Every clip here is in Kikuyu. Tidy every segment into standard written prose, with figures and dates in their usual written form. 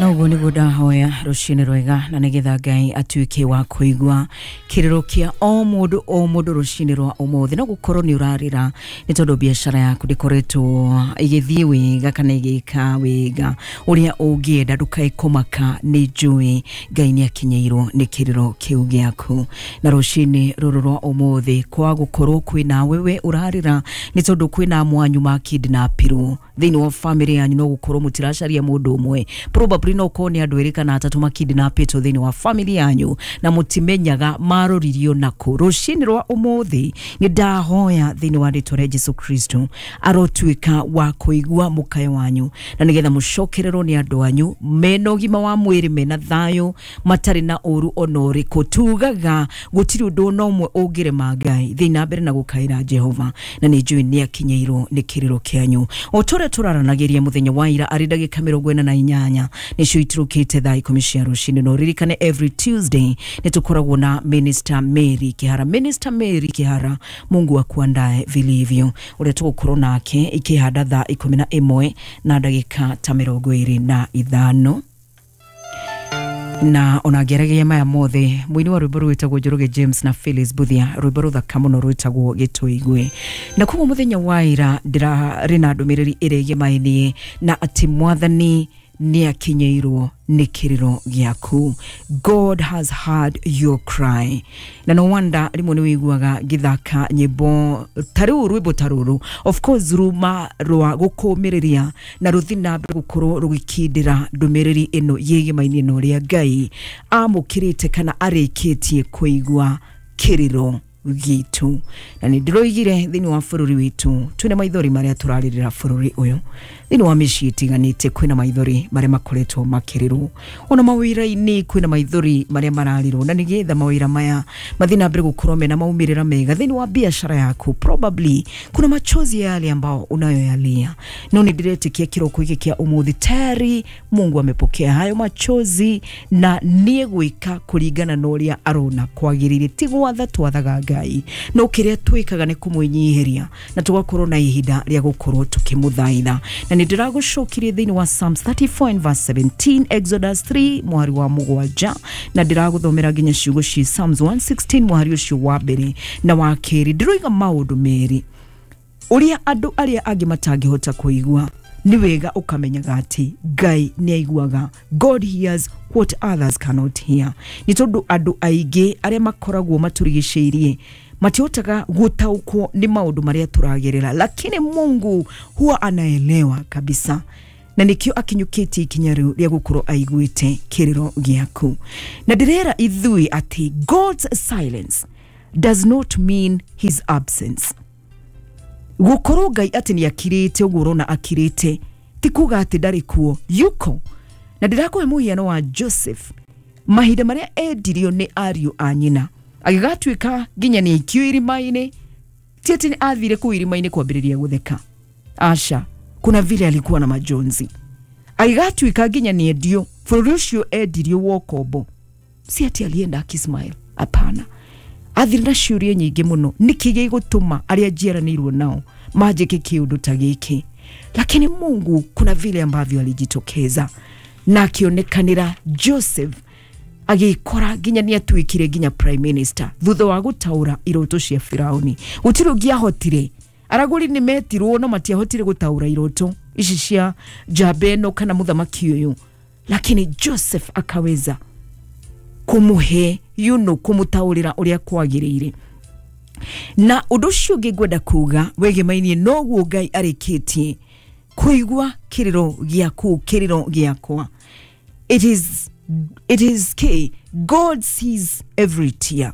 Na ũguo nĩguo ndahoya rũcinĩ rwega, na nĩgetha Ngai atuĩke wa kũigua kĩrĩro kĩa o mũndũ o mũndũ rũcinĩ rwa ũmũthĩ. No gũkorwo nĩ ũrarĩra nĩ tondũ biacara yaku ndĩkoretwo ĩgĩthiĩ wega kana ĩgĩka wega ũrĩa ũngĩenda, ndũkae kũmaka, nĩ njũĩ Ngai nĩ akinyĩirwo nĩ kĩrĩro kĩu gĩaku. Na rũcinĩ rũrũ rwa ũmũthĩ, kwa gũkorwo kwĩna wewe ũrarĩra nĩ tondũ kwĩna mwanyu makidnapirwo thĩinĩ wa family yanyu, no gũkorwo mũtiracaria mũndũ ũmwe, probably no ũkorwo nĩ andũ erĩ kana atatũ makidnapĩtwo thĩinĩ wa family yanyu na mũtimenyaga maroririo nakũ. Rũcinĩ rwa ũmũthĩ nĩ ndahoya thĩinĩ wa rĩtwa rĩa Jesu Kristo arotuĩka wa kũigua mũkayo wanyu, na nĩgetha mũcokererwo nĩ andũ anyu mena ũgima wa mwĩrĩ, mena thayũ, matarĩ na ũru ona ũrĩkũ. Tugaga gũtirĩ ũndũ ona ũmwe ũngĩrema Ngai. Thiĩ na mbere na gũkaĩra Jehova, na nĩ njũĩ nĩ akinyĩirwo nĩ kĩrĩro kĩanyu. O ta ũrĩa tũraranagĩria mũthenya wa ira, arĩ ndagĩka 48 nĩcio itirũkĩte thaa 10 cia rũcinĩ. Na ũririkane every Tuesday nĩ tũkoragwo na Minister Mary Kihara. Minister Mary Kihara, Mungu akuandae vilivyo, ũrĩa tũgũkorwo nake ikĩhanda thaa 11 na ndagĩka ta 25. Na ona ngĩaragia maya mothe, mũini wa rwĩmbo rwĩtagwo Njoroge James na Phyllis Buthia, rwĩmbo rũthaka mũno rwĩtagwo Gĩtũigue. Na koguo mũthenya wa ira ndĩrarĩ na ndũmĩrĩri ĩrĩa na atĩ Mwathani nĩ akinyĩirwo nĩ kĩrĩro gĩaku. God has heard your cry. Na no wonder rĩmwe nĩ wĩiguaga ngĩthaka nyĩmbo ta rĩu, rwĩmbo ta rũrũ, of course ruma rwa gũkũmĩrĩria na rũthi na mbere gũkorwo rũgĩkindĩra ndũmĩrĩri ĩno yĩgĩmainie na ũrĩa Ngai amũkĩrĩte kana arĩkĩtie kũigua kĩrĩro gitũ. Na nĩ ndĩroigire thĩinĩ wa bũrũri witũ twĩna maithori marĩa tũrarĩrĩra bũrũri ũyũ, thĩinĩ wa mĩciĩ ĩtiganĩte kwĩna maithori marĩa makoretwo makĩrĩrwo, ona mawĩra-inĩ kwĩna maithori marĩa mararĩrwo, na nĩgetha mawĩra maya mathiĩ na mbere gũkorwo mena maumĩrĩra mega thĩinĩ wa biashara yaku, probably kuna machozi yale ambao unayoyalia. No nĩ ndĩretĩkia kĩroko gĩkĩ kĩa ũmũthĩ tayari Mungu amepokea hayo machozi na nĩ egwĩka kũringana na ũrĩa arona kwagĩrĩire. Ti gwatha twathaga Ngai, no kĩrĩa twĩkaga nĩ kũmwĩnyihĩria na tũgakorwo na ihinda rĩa gũkorwo tũkĩmũthaitha. Na nĩ ndĩragũcokirie thĩinĩ wa Psalms 34 and verse 17, Exodus 3 mwari wa 7, na ndĩragũthomera nginya ciugo ci Psalms 116 mwari ũcio wa mbere na wa kerĩ. Ndĩroiga maũndũ merĩ ũrĩa andũ arĩa angĩ matangĩhota kũigua, nĩ wega ũkamenyaga atĩ Ngai nĩ aiguaga. God hears what others cannot hear. Nĩ tondũ andũ aingĩ arĩa makoragwo matũrigicĩirie matihotaga gũtaũkwo nĩ maũndũ marĩa tũragerera, lakini Mungu huwa anaelewa kabisa, na nĩkĩo akinyũkĩtie ikinya rĩu rĩa gũkorwo aiguĩte kĩrĩro gĩaku. Na ndĩrera ithuĩ atĩ God's silence does not mean his absence. Gũkorwo Ngai atĩ nĩ akirĩte ũguo ũrona akirĩte ti kuga atĩ ndarĩ kuo, yuko. Na ndĩrakũhe mũhiano wa Joseph, mahinda marĩa endirio nĩ ariũ a nyina agĩgatuĩka nginya nĩ aikio irima-inĩ. Ti atĩ athire kũu irima-inĩ kwambĩrĩria gũtheka, aca, kuna vile alikuwa na majonzi. Agĩgatuĩka nginya nĩ endio bũrũri ũcio endirio wa ũkombo, si ati alienda akismile, hapana. Athire na ciũria nyingĩ mũno, nĩkĩ gĩgũtũma arĩa njiaranĩirwo nao manjĩke kĩũndũ ta gĩkĩ? Lakini Mungu kuna vile ambavyo alijitokeza na akĩonekanĩra Joseph, agĩkora nginya nĩ atuĩkire nginya prime minister thutha wa gũtaũra iroto cia Firauni. Gũtirĩ ũngĩahotire, aragũri nĩ metirwo no matiahotire gũtaũra iroto ici cia njamba ĩno kana mũthamaki ũyũ, lakini Joseph akaweza kũmũhe kũmũtaũrĩra ũrĩa kwagĩrĩire. Na ũndũ ũcio ũngĩ ngwenda kuga wĩgĩmainie noguo Ngai arĩkĩtie kũigua kĩrĩro gĩaku, kĩrĩro gĩakwa. It is key. God sees every tear.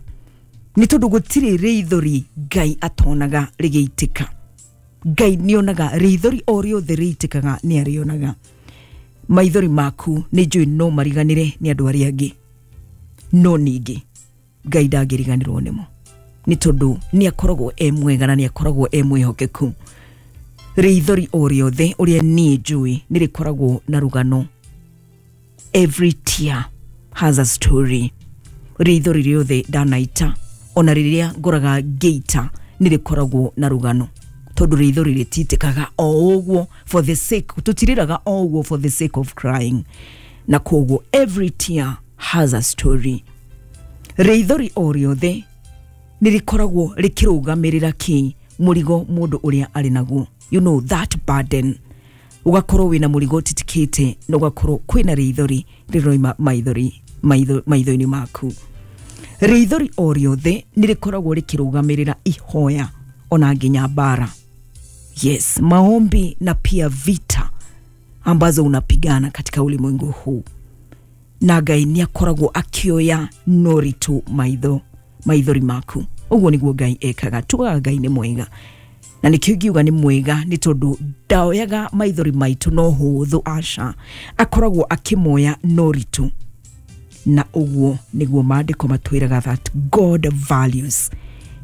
Nĩ tondũ gũtirĩ rĩithori Ngai atonaga rĩgĩitĩka. Ngai nĩonaga rĩithori o rĩothe rĩitĩkaga, nĩ arĩonaga. Maithori maku nĩ njũĩ no mariganĩre nĩ andũ arĩa angĩ, no ningĩ Ngai ndangĩriganĩrwo nĩmo, nĩ tondũ nĩ akoragwo e mwega na nĩ akoragwo e mwĩhokeku. Rĩithori o rĩothe ũrĩa niĩ njũĩ nĩ rĩkoragwo na rũgano. Every tear has a story. Rĩithori rĩothe ndanaita, ona rĩrĩa ngoraga ngĩita, nĩ rĩkoragwo na rũgano. Tondu rĩithori rĩtitĩkaga o ũguo for the sake, tũtirĩraga o ũguo for the sake of crying. Na koguo every tear has a story. Rĩithori o rĩothe nĩ rĩkoragwo rĩkĩrũgamĩrĩra kĩ mũrigo mũndũ ũrĩa arĩ naguo, you know that burden. Ũgakorwo wĩna mũrigo ũtitikĩte na ũgakorwo kwĩna rĩithori rĩroima maithori maitho-inĩ maku. Rĩithori o rĩothe nĩ rĩkoragwo rĩkĩrũgamĩrĩra ihoya ona nginya mbara. Yes, maombi na pia vita ambazo unapigana katika ulimwengu huu. Na Ngai nĩ akoragwo akĩoya noritũ maithori maku. Ũguo nĩguo Ngai ekaga. Tugaga Ngai nĩ mwega, na nĩkĩo ingiuga nĩ mwega nĩ tondũ ndaoyaga maithori maitũ no hũthũ, aca, akoragwo akĩmoya noritũ. Na ũguo nĩguo maandĩko matwĩraga that God values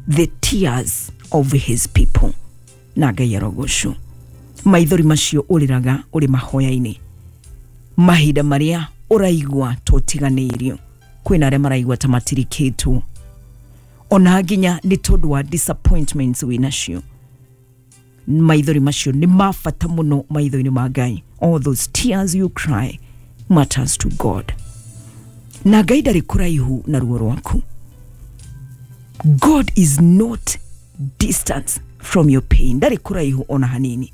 the tears of his people. Na Ngai arogocwo. Maithori macio ũrĩraga ũrĩ mahoya-inĩ, mahinda marĩa ũraigua tũtiganĩirio, kwĩna arĩa maraigua ta matirikĩtwo, ona nginya nĩ tondũ wa disappointments wĩnacio. Maithori macio nĩ ma bata mũno maitho-inĩ ma Ngai. All those tears you cry matters to God. Na Ngai ndarĩ kũraihu na ruo rwaku. God is not distant from your pain. Ndarĩ kũraihu ona hanini,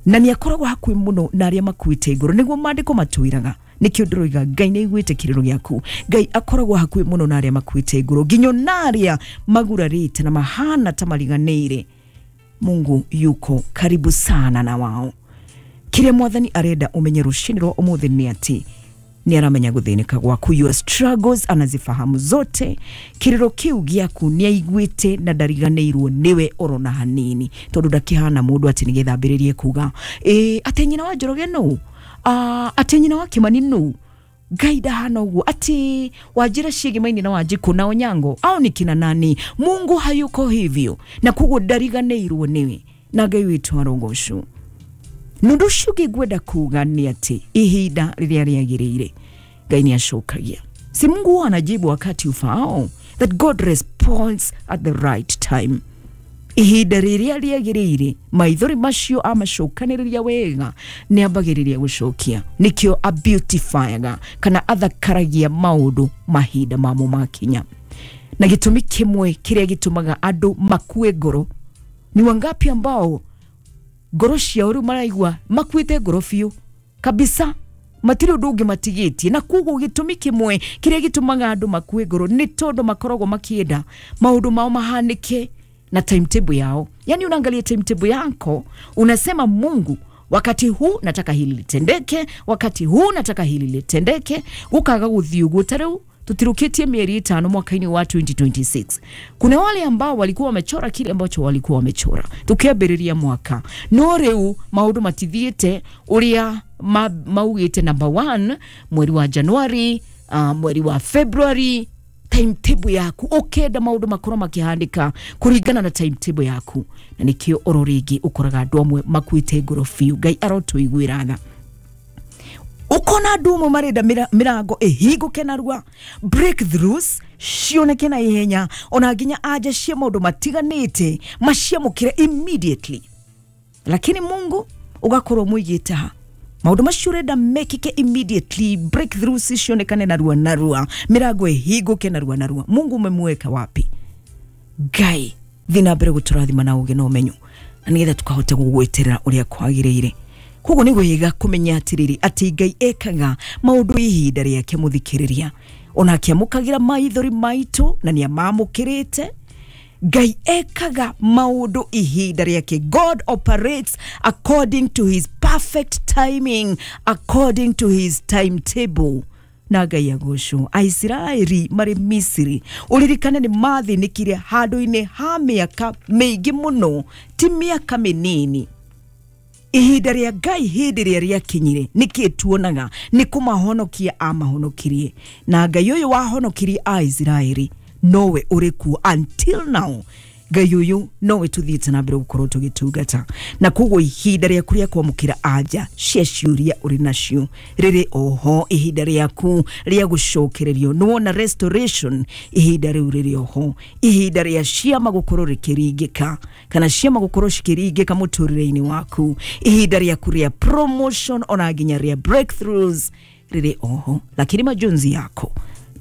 na nĩ akoragwo hakuhĩ mũno na arĩa makuĩte ngoro. Nĩguo maandĩko matwĩraga. Nĩkĩo ndĩroiga Ngai nĩ aiguĩte kĩrĩro gĩaku. Ngai akoragwo hakuhĩ mũno na arĩa makuĩte ngoro, nginya na arĩa magurarĩte na mahana ta mariganĩire. Mungu yuko karibu sana na wao. Kĩrĩa Mwathani arenda ũmenye rũcinĩ rwa ũmũthĩ nĩ atĩ nĩ aramenya gũthĩnĩka gwaku, your struggles anazifahamu zote. Kĩrĩro kĩu gĩaku nĩ aiguĩte na ndariganĩirwo nĩwe orona hanini, tondũ ndakĩhana mũndũ atĩ nĩgetha ambĩrĩrie kuga atĩ nyina wa Njoroge nũ, atĩ nyina wa Kimani nũ. Ngai ndahana ũguo, atĩ Wanjĩra ciĩgĩmaini na Wanjikũ na Onyango au ni kina nani. Mungu hayuko hivyo, na koguo ndariganĩirwo nĩwe. Na Ngai witũ arogocwo. Nũndũ ũcio ũngĩ ngwenda kuga nĩ atĩ ihinda rĩrĩa rĩagĩrĩire Ngai nĩ acokagia. Si Mungu huwa anajibu wakati ufaao? That God responds at the right time. Ihinda rĩrĩa rĩagĩrĩire maithori macio amacokanĩrĩria wega nĩ ambagĩrĩria gũcokia. Nĩkĩo abeautifyaga kana athakaragia maũndũ mahinda mamo makinya. Na gĩtũmi kĩmwe kĩrĩa gĩtũmaga andũ makue ngoro, ni wangapi ambao ngoro ciao rĩu maraigua makuĩte ngoro biũ kabisa, matirĩ ũndũ ũngĩ matigĩtie. Na koguo gĩtũmi kĩmwe kĩrĩa gĩtũmaga andũ makue ngoro nĩ tondũ makoragwo makĩenda maũndũ mao mahanĩke na timetable yao. Yani unaangalia timetable yako, unasema Mungu, wakati huu nataka hili litendeke, wakati huu nataka hili litendeke. Ukaga gũthiĩ ũguo. Ta rĩu tutirukitie mieri 5 mwaka-inĩ wa 2026. Kuna wale ambao walikuwa wamechora kile ambacho walikuwa wamechora tukiambĩrĩria mwaka, no rĩu maũndũ matithiĩte ũrĩa maugĩte. Number 1 mweri wa Januari, mweri wa February, timetable yaku ukenda maũndũ makorwo makĩhandĩka kũringana na timetable yaku. Na nĩkĩo oro rĩngĩ ũkoraga andũ amwe makuĩte ngoro biũ. Ngai arotũiguĩra tha. Ukona andũ amwe marenda mĩrango ĩhingũke narua, breakthroughs cioneke na ihenya, ona nginya anja cia maũndũ matiganĩte maciamũkĩre immediately. Lakini Mungu ũgakorwo mũigĩte ha maũndũ macio ũrenda mekĩke immediately, breakthroughs cionekane narua narua, mĩrango ĩhingũke narua narua. Mungu umemweka wapi? Ngai thiĩ na mbere gũtũrathima na ũgĩ na ũmenyo, na nĩgetha tũkahota gũgweterera ũrĩa kwagĩrĩire. Koguo nĩ wega kũmenya atĩrĩrĩ atĩ Ngai ekaga maũndũ ihinda rĩake mũthikĩrĩria, ona akĩamũkagĩra maithori maitũ na nĩ amamũkĩrĩte. Ngai ekaga maũndũ ihinda rĩake. God operates according to his perfect timing, according to his timetable. Na Ngai agocwo. Aisiraeli marĩ Misiri, ũririkane nĩ mathĩnĩkire handũ-inĩ ha mĩaka mĩingĩ mũno, ti mĩaka mĩnini. Ihinda rĩa Ngai hĩndĩ ĩrĩa rĩakinyire, nĩkĩ tuonaga nĩ kũmahonokia amahonokirie. Na Ngai ũyũ wahonokirie Aisiraeli nowe ũrĩ kuo until now. Ngai ũyũ nowe tũthiĩte na mbere gũkorwo tũgĩtungata, na koguo ihinda rĩaku rĩa kwamũkĩra anja cia ciũria ũrĩ nacio rĩrĩ oho. Ihinda rĩaku rĩa gũcokererio nĩwona restoration, ihinda rĩu rĩrĩ oho. Ihinda rĩa ciama gũkorwo rĩkĩringĩka kana ciama gũkorwo cikĩringĩka mũtũrĩre-inĩ waku, ihinda rĩaku rĩa promotion ona nginya rĩa breakthroughs rĩrĩ oho, lakini majonzi yako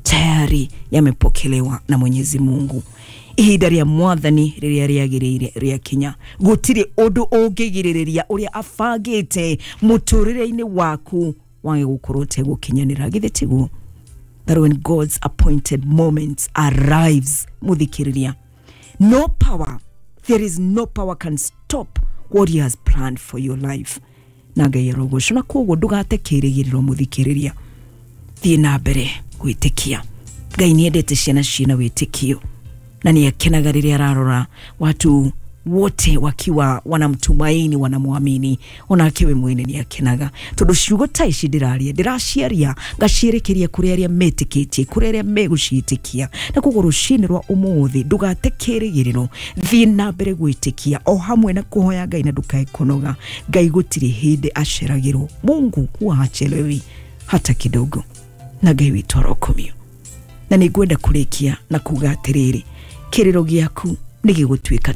tayari yamepokelewa na Mwenyezi Mungu. Ihinda rĩa Mwathani rĩrĩa rĩagĩrĩire rĩakinya, gũtirĩ ũndũ ũngĩgirĩrĩria ũrĩa abangĩte mũtũrĩre-inĩ waku wage gũkorwo ũtegũkinyanĩra. Githĩ tiguo? That when God's appointed moment arrives, muthikiriria, no power, there is no power can stop what he has planned for your life. Na Ngai arogocwo. Na koguo ndũgate kĩrĩgĩrĩro, mũthikĩrĩria, thiĩ na mbere gwĩtĩkia. Ngai nĩ endete ciana ciĩna wĩtĩkio, na nĩ akenaga rĩrĩa ararora watu wote wakiwa wanamtumaini, wanamwamini. Onake we mwene nĩ akenaga, tondũ ciugo ta ici ndĩraria ndĩraciaria ngacierekeria kũrĩ arĩa metĩkĩtie, kũrĩ arĩa megũciĩtĩkia. Na koguo rũcinĩ rwa ũmũthĩ ndũgate kĩrĩgĩrĩro, thiĩ na mbere gwĩtĩkia o hamwe na kũhoya Ngai, na ndũkae kũnoga. Ngai gũtirĩ hĩndĩ aceragĩrwo. Mungu huwa hachelewi hata kidogo, na Ngai witũ arokomio. Na nĩ ngwenda kũrĩkia na kuga atĩrĩrĩ, kĩrĩro gĩaku nĩ gĩgũtuĩka.